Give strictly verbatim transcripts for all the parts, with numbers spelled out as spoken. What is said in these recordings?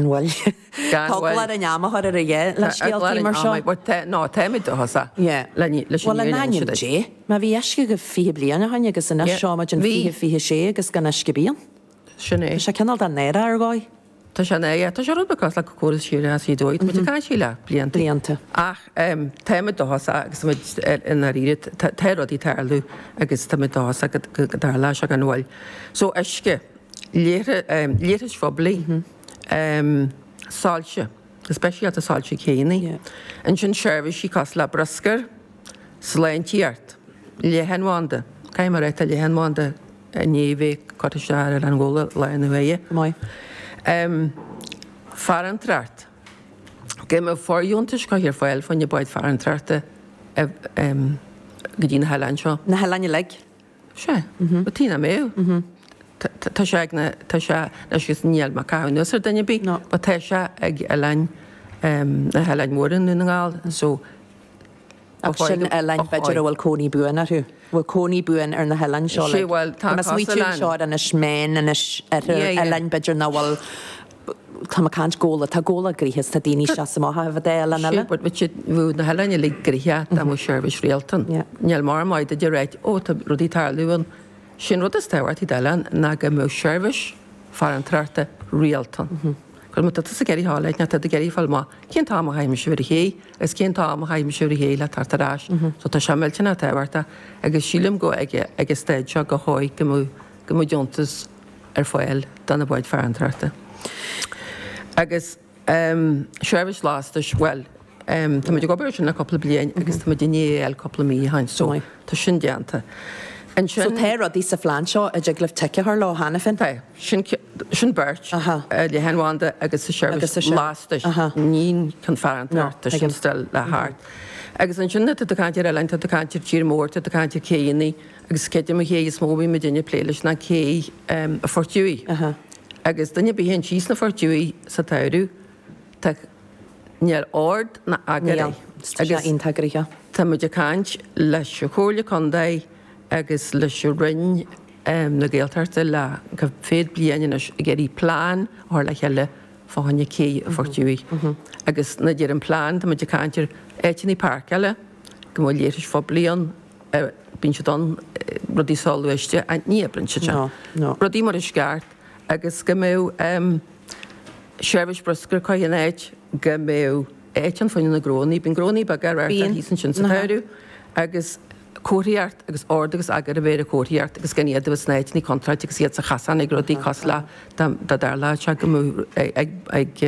Bhuel, tá eagla ar an am a chur ar a dhéith le scéaltaí mar seo. No, táimid dóchasach. Bhuel, in ainm Dé, má bhí uisce agaibh fiche bliain ó shin agus anois seo muid in fiche fiche sé agus gan uisce ar bith ann. Sin é. Tá sé cineál den náire ar dhóigh. Tá sé náireach. Tá sé rud beag cosúil le córas siar as i dóigh. Tá muid ag caint faoi le blianta. Blianta. Ach táimid dóchasach agus táimid i ndáiríre, tá rudaí ag tarlú agus táimid dóchasach go dtarlóidh sé gan mhoill. So uisce, leithris phoiblí, soilse, go speisialta soilse céanna. Ansin seirbhísí cosúil le bruscar, sláintíocht, leathanbhanda, caithfidh mé a rá tá leathanbhanda i ndiaidh bheith curtha isteach ar Oileán Ghabhla lá na huaire. Maith. Farantóireacht. Go mbeadh fóirdheontais curtha ar fáil fá choinne báid farantóireachta go dtí na hoileáin seo. Na hoileáin uilig? Sea. Ba tí nach mbeadh. Tá sé ag na, tá sé, anois agus níl mé ag caitheamh anuas ar duine ar bith, but tá sé ag oileáin, na hoileáin mhóra i nDún na nGall, so Ach sin oileáin b'fhéidir a bhfuil cónaí buan orthu. Bhfuil cónaí buan ar na hoileáin seo? Sé bhuel tá Tá mé ag smaoitiú anseo ar Inis Meáin, Inis Oirthir, oileáin b'fhéidir nach bhfuil, tá mé ag caint Gabhla, tá Gabhla gnoitheach is tá daoine ag seasamh amach a bheith oileán eile. Sé but bheadh na hoileáin uilig gnoitheach dá mbeadh seirbhís rialta ann. Níl mar maith duit a ráit, ó tá rudaí ag tarlú ann. Sin rud is tábhachtaí d'oileán ná go mbeadh seirbhís farantóireachta rialta ann. Cos má tá tusa ag iarraidh a ghabháil, tá tú ag iarraidh fáil amach cén t-am a chaithfidh mise a bheith ar an ché agus cén t-am a chaithfidh mise a bheith ar an ché le teacht ar ais. So tá sé millteanach tábhachtach agus sílim go ag ag an staid seo go chóir go mbeadh go mbeadh deontas ar fáil do na báid farantóireachta. Agus seirbhís lastais, bhuel, tá muid ag obair ar sin le cúpla bliain agus tá muid i ndiaidh é a fháil cúpla mí ó shin so tá sin déanta. Ansin. So tá rudaí sa phlean seo a dtig libh tic a chur leo cheana féin? Tá. Sin, sin beirt. Leathanbhanda agus sa seirbhís lastais. Ní chun farantóireachta, sin still le theacht. Agus ansin tá tú ag caint ar oileáin, tá tú ag caint ar tír mór, tá tú ag caint ar céanna agus creidim an ché is mó a bhí muidinne ag plé leis ná cé an Phort Dhuibh. Agus duine ar bith a théann síos na Port Dhuibh sa tsamhradh, tá, níl ord ná eagar air. Agus tá muid ag caint leis an Chomhairle Contae agus leis an Roinn na Gaeltachta le go fiche bliain anois ag iarraidh plean a chur le chéile fá choinne cé an Phort Dhuibh. Agus nuair a deir an plean, tá muid ag caint ar áiteanna páirceála, go mbeadh leithris phoiblí ann, bíonn siad ann, rudaí soghluaiste, ní oibríonn siad sin. Rudaí mar is ceart agus go mbeadh seirbhís bruscair curtha in áit, go mbeadh áit ann fá choinne na gnónnaí, bíonn gnónnaí beaga á reáchtáil thíos ansin sa tsamhradh agus comharthaíocht agus ord agus eagar a bheith ar an chomharthaíocht agus gan iad a bheith sna áiteanna contráilte agus iad sa chasán ag rudaí cosúil le dá dtarlódh sé go mbeadh ag ag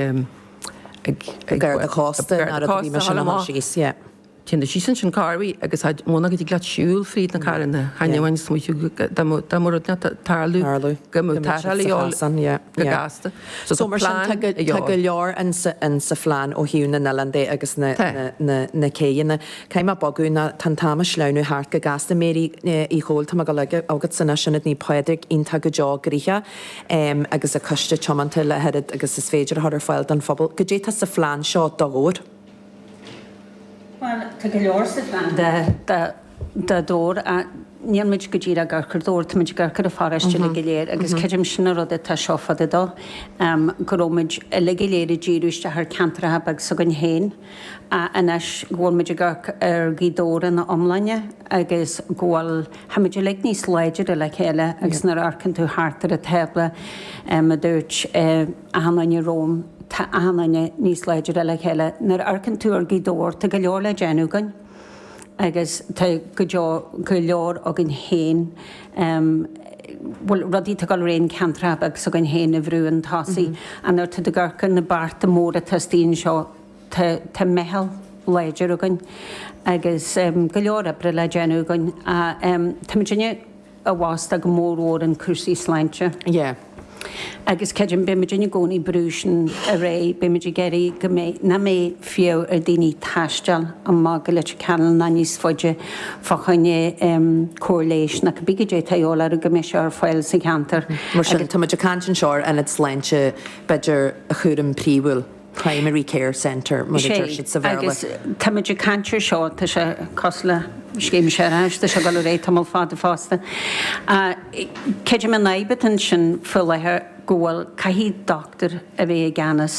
ag ag Garda Cósta ná rud a bhí mar sin a chur síos, yeah. Téann tú síos ansin corruair agus muna go dtig leat siúl fríd na carranna, chan amháin smaoitiú dá mbeadh rud ag tarlú go mbeadh tarrtháil a dhíobháil go gasta. So tá mar sin tá go leor in sa phlean ó thaobh na n-oileán de agus na na céanna. Caithfidh mé bogadh ná tá an t-am ag sleamhnú thart go gasta. Mary Uí Chomhaill, tá mé ag dul chugatsa anois, Ionad Naomh Pádraig iontach go deo gnoitheach agus an coiste tiomanta le hoiread agus is féidir a chur ar fáil don phobal. Goidé tá sa phlean seo do Dhobhar? Bhuel, tá go leor sa phlean do Dhobhar. Níl muid go díreach ag amharc ar Dhobhar, tá muid ag amharc ar an pharóiste uilig go léir agus creidim sin an rud atá seo fada dó, go raibh muid uilig go léir ag díriú isteach ar ceantracha beag s'againn féin anois go bhfuil muid ag amharc ar Ghaoth Dobhair ina iomláine agus go bhfuil, tá muid uilig níos láidre le chéile agus nuair a amharcann tú thart ar an tábla, a dúirt achan duine romham, tá achan duine níos láidre le chéile. Nuair a amharcann tú ar Ghaoth Dobhair, tá go leor le déanamh againn agus tá go deo, go leor againn féin, bhuel, rudaí atá ag dul ar aghaidh in ceantracha beag s'againn féin a bhrú chun tosaigh. Ach nuair atá tú ag amharc ar na bearta móra atá istigh anseo, tá, tá meitheal láidir againn agus go leor oibre le déanamh againn. Tá muidinne i bhfostú go mór mhór in cúrsaí sláinte. Yeah. Agus creidim, beidh muidinne i gcónaí ag brú sin ar aghaidh, beidh muid ag iarraidh go mbeidh, nach mbeidh fiach ar daoine taisteal amach go Leitir Ceanainn ná níos faide fá choinne cóir leighis nó cibé goidé atá a dhíobháil orthu go mbeidh sé ar fáil sa cheantar. Mar sin, tá muid ag caint anseo ar ionad sláinte, b'fhéidir, chúram príomhúil. Primary Care Centre, mar a deir siad sa Bhéarla. Agus táimid ag caint ar seo, tá sé cosúil le scéim séarachais, tá sé ag dul ar aghaidh tamall fada fosta. Creidim an fhadhb atá ansin faoi láthair, go bhfuil caithfidh dochtúir a bheith i gceannas